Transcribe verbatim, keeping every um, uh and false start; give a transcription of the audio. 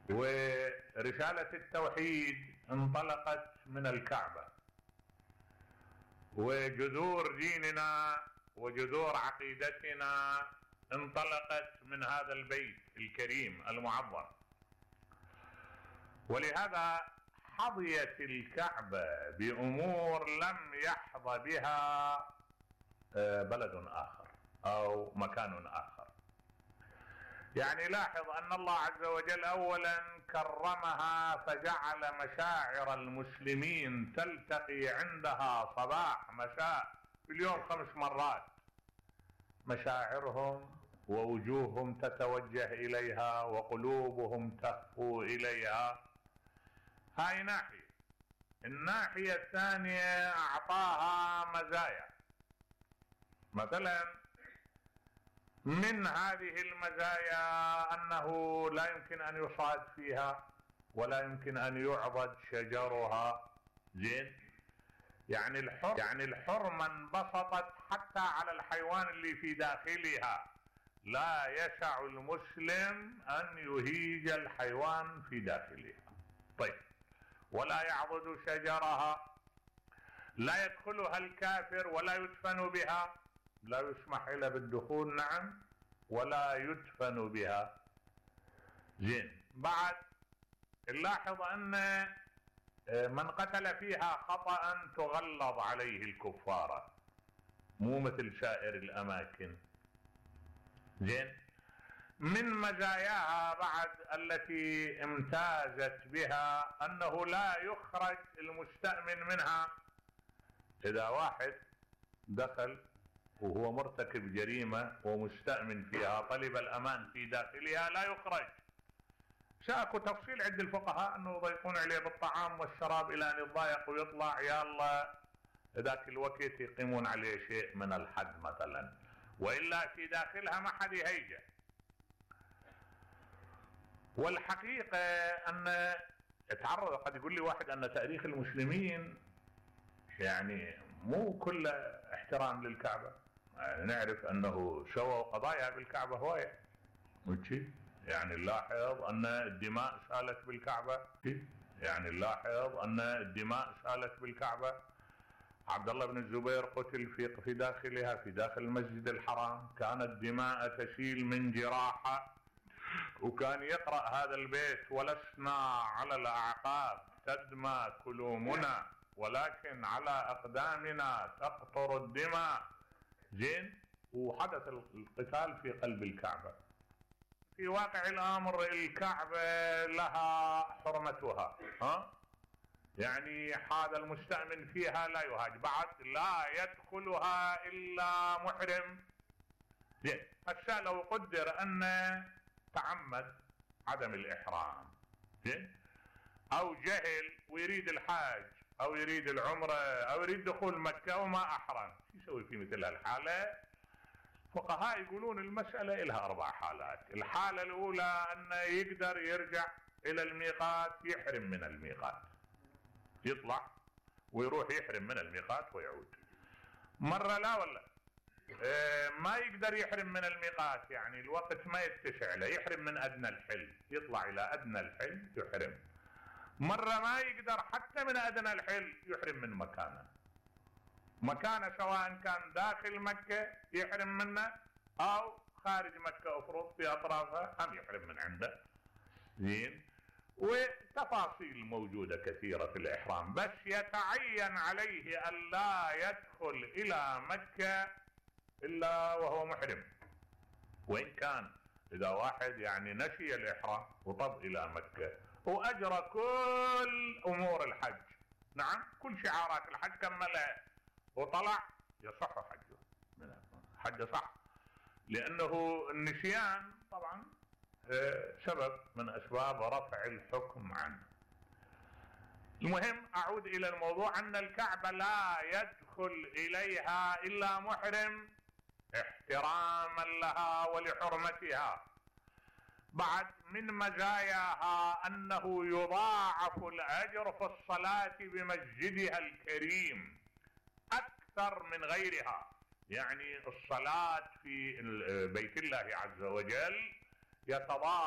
ورسالة التوحيد انطلقت من الكعبة، وجذور ديننا وجذور عقيدتنا انطلقت من هذا البيت الكريم المعظم. ولهذا حظيت الكعبة بأمور لم يحظى بها بلد آخر أو مكان آخر. يعني لاحظ أن الله عز وجل أولا كرمها فجعل مشاعر المسلمين تلتقي عندها صباح مساء في اليوم خمس مرات، مشاعرهم ووجوههم تتوجه إليها وقلوبهم تهفو إليها. هاي ناحية. الناحية الثانية أعطاها مزايا، مثلا من هذه المزايا أنه لا يمكن أن يصعد فيها ولا يمكن أن يعضد شجرها. زين، يعني الحر يعني الحرمة انبسطت حتى على الحيوان اللي في داخلها. لا يسع المسلم أن يهيج الحيوان في داخلها. طيب، ولا يعضد شجرها، لا يدخلها الكافر ولا يدفن بها، لا يسمح إلا بالدخول نعم ولا يدفن بها. زين، بعد نلاحظ أن من قتل فيها خطأ تغلظ عليه الكفارة، مو مثل سائر الأماكن. زين، من مزاياها بعد التي امتازت بها أنه لا يخرج المستأمن منها. إذا واحد دخل وهو مرتكب جريمة ومستأمن فيها طلب الأمان في داخلها لا يخرج. شاكو تفصيل عند الفقهاء أنه يضيقون عليه بالطعام والشراب إلى أن يتضايق ويطلع، يلا ذاك الوقت يقيمون عليه شيء من الحد مثلا، وإلا في داخلها ما حد يهيجه. والحقيقة أن اتعرض، قد يقول لي واحد أن تاريخ المسلمين يعني مو كله احترام للكعبة. يعني نعرف أنه سووا قضايا بالكعبة هواية، يعني نلاحظ أن الدماء سالت بالكعبة، يعني نلاحظ أن الدماء سالت بالكعبة. عبد الله بن الزبير قتل في في داخلها، في داخل المسجد الحرام، كانت دماء تسيل من جراحة، وكان يقرأ هذا البيت: ولسنا على الأعقاب تدمى كلومنا ولكن على أقدامنا تقطر الدماء. زين، وحدث القتال في قلب الكعبة. في واقع الأمر الكعبة لها حرمتها، ها؟ يعني هذا المستأمن فيها لا يهاج، بعد لا يدخلها إلا محرم. زين، هسه لو قدر أن تعمد عدم الإحرام، زين، أو جهل ويريد الحاج أو يريد العمرة أو يريد دخول مكة وما أحرم، شو يسوي في مثل هالحالة؟ فقهاء يقولون المسألة إلها أربع حالات. الحالة الأولى أنه يقدر يرجع إلى الميقات، يحرم من الميقات، يطلع ويروح يحرم من الميقات ويعود. مرة لا ولا اه ما يقدر يحرم من الميقات، يعني الوقت ما يتسع له، يحرم من أدنى الحل، يطلع إلى أدنى الحل يحرم. مرة ما يقدر حتى من أدنى الحل، يحرم من مكانه مكانه سواء كان داخل مكة يحرم منه أو خارج مكة أفرض في أطرافها هم يحرم من عنده. زين، وتفاصيل موجودة كثيرة في الإحرام، بس يتعين عليه أن لا يدخل إلى مكة إلا وهو محرم. وإن كان إذا واحد يعني نسي الإحرام وطب إلى مكة وأجرى كل أمور الحج، نعم كل شعارات الحج كملها وطلع، يصح حجه، حجه صح، لأنه النسيان طبعا سبب من أسباب رفع الحكم عنه. المهم أعود إلى الموضوع، أن الكعبة لا يدخل إليها إلا محرم احتراما لها ولحرمتها. بعد من مزاياها أنه يضاعف الأجر في الصلاة بمسجدها الكريم أكثر من غيرها. يعني الصلاة في بيت الله عز وجل يتضاعف